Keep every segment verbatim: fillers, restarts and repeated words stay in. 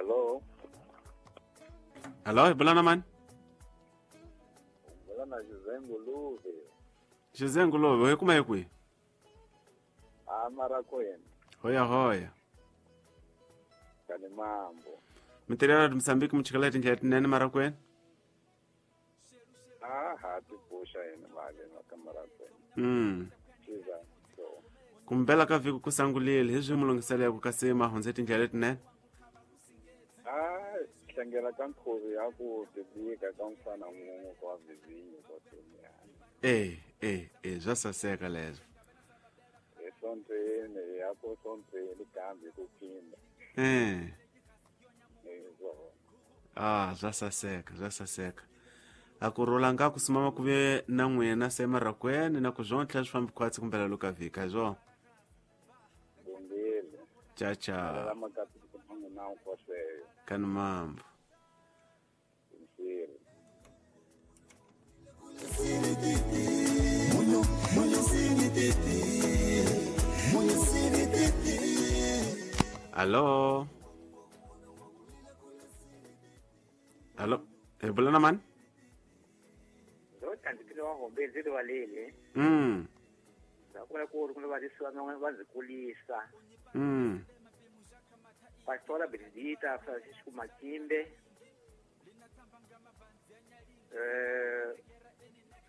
Hello. Hello, hi bula na mani? Bula na José Nguluve. José Nguluve, hi kuma hi kwihi? A Marakwena. Hoya hoya. Kani mambo. Mintirho ya Mozambique mi chikela tindlela tinene Marakwena? Ah, ha ti pfuxa yena mali ka Marakwena. Mm. Chiza. So. Kumbela ka vhiki ku sangulile hi swi mu lunghiseleko kasi ma hundze tindlela letinene? Ah, hlengela ka nkhuvo ya ku bibika ka mfana mun'we kwa vizinyo kwa tunyana. Eh, eh, eh, swa saseka leswo. Esontweni ya ku sontweni kambe ku phinda. Eh. Ezwo. Ah, swa saseka, swa saseka. A ku rhula nga ku simama ku ve na n'wina se Marakwena na ku swontlha swi fambi khwatsi kumbela loka vhiki hi swona. Bongile. Cha cha. La makati ku na kwasheyo. Kani mambo. Msiri. Allo. Allo, hi bula na mani? Ndo tandikile wa hombe ndzi rivalele. Mm. Ndza kula ku ri ku va risiwa va ndzi kulisa. Mm. Pastora Benedita Francisco Makimbe. Eh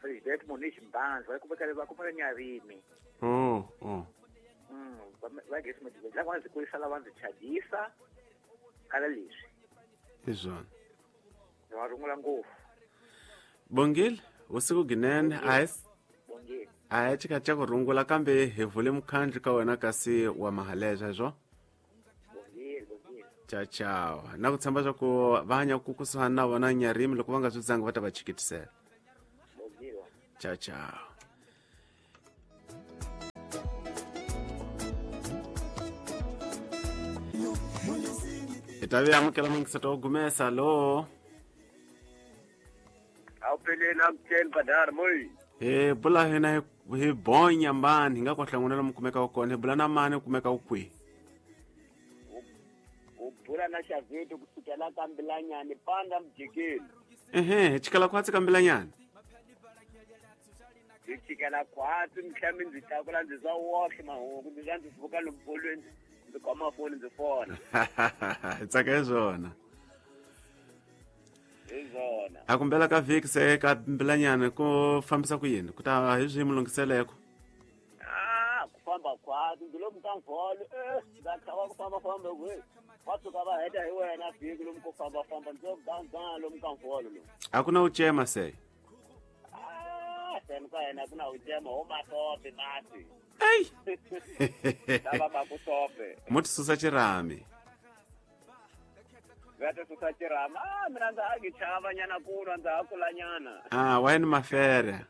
Presidente Moniz Mbanzi, va kumeka va kumeka Nyarimi. Oh, oh. Mm, va gesi mudzi la va ndzi kulisa lava ndzi chadisa kala leswi. Hi swona. Ndzi va rungula ngopfu. Bongile, usiku ginene a hi Bongile. a hi chika cha ku rungula kambe hi vule mukhandlu ka wena kasi wa mahaleswa hi swona. Bongile, bongile. Cha chao. Na ku tshemba swa ku va hanya ku kusuhani na vona Nyarimi loko va nga swi zangi va ta va chikitisela. Bongile. Cha chao. Hi ta vi amukela mingiseto wo gumesa lo. Awupheleli akutsheli badara moyi. Hi bula hina hi hi bonya mani hi nga ku hlanganela mi kumeka kona hi bula na mani u kumeka u kwihi? U bula na Xavito kusukela ka Mbilanyani panda mjikeni. Ehe, hi chikela khwatsi ka Mbilanyani. Hi chikela khwatsi mhlawumbe ndzi tlakula ndzi swa wohle mahungu ndzi swa ndzi pfuka lomu bolweni ndzi khoma foni ndzi fona. Hi tsaka hi swona. Hi swona. A kumbela ka vhiki se ka Mbilanyani ku fambisa ku yini? Ku ta hi swi mu lunghiseleko. Ah, ku famba khwatsi ndzi lomu ka mvolo eh ndza chava ku famba famba kwe. Va suka va heta hi wena vhiki lomu ku famba famba ndzi ganga lomu ka mvolo lomu. A ku na u cema se. Ah, sen ka yena ku na u cema ho masope masi. Ei. Lava va ku sope. Mo ti susa xirhami. Va ti susa xirhami. Ah, mina ndza ha ki chava nyana ku nwa ndza ha kula nyana. Ah, wa yini mafere?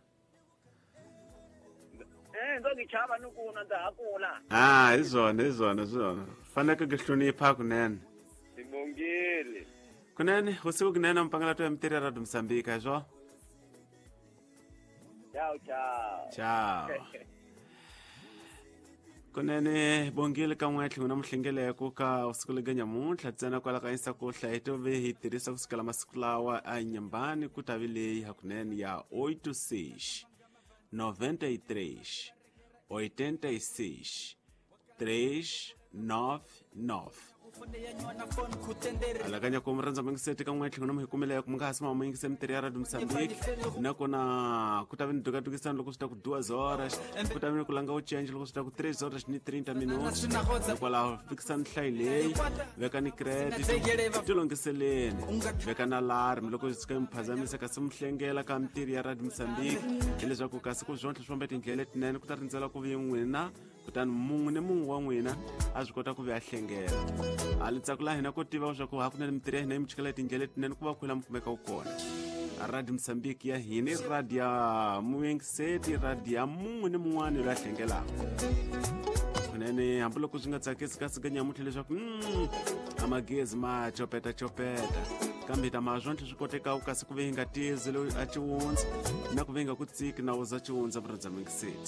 Eh, ndo ki chava ni ku nwa ndza ha kula. Ah, hi swona, hi swona, hi swona. Faneke ku hlonipha kunene. Sibongile. Kunene, usiku kunene mpangela to ya mitirho ya Radio Mozambique, hi swona? Ciao, ciao. Ciao. Kunene bongile ka n'we tlhelo na muhlengeleko ka usiku lega nyamuntlha ntsena kwala ka Insta ku hlaya to ve hi tirhisa kusukela masiku lawa a nyambani ku ta vi leyi hakunene ya oito seis noventa e três oitenta e seis três nove nove. Alakanya ku murhandza mingiseti ka n'we tlhelo na muhikumele ku mi nga ha sima muyingise mitirho ya Radio Mozambique nakona ku ta vi ni dukadukisana loko swi ta ku duas horas ku ta vi ni ku langa u change loko swi ta ku três horas ni trinta minutos hikwalaho fikisani nhlayo leyi veka ni credit ti lunghiseleni veka na alarm loko swi tshuka mi phazamisa kasi mi hlengela ka mitirho ya Radio Mozambique hileswaku kasi ku swontlha swi famba tindlela letinene ku ta rindzela ku vi n'wina kutani mun'we ni mun'we wa n'wina a swi kota ku vi a hlengela. A litsako la hina ko tiva leswaku hakunene mitirho ya hina yi mi chikela tindlela letinene ku va ku la mi kumeka u kona. Radio Mozambique ya hina i radio ya muyingiseti radio ya mun'we ni mun'wana loyi a hlengelaka. Kunene hambiloko swi nga tsakisi kasi ka nyamuntlha leswaku mm, a magezi ma copeta copeta kambe ta ma swontlha swi koteka kasi ku ve hi nga tizi loyi a ciwundza na ku ve hi nga ku tsiki na uza ciwundza murhandza mingiseti.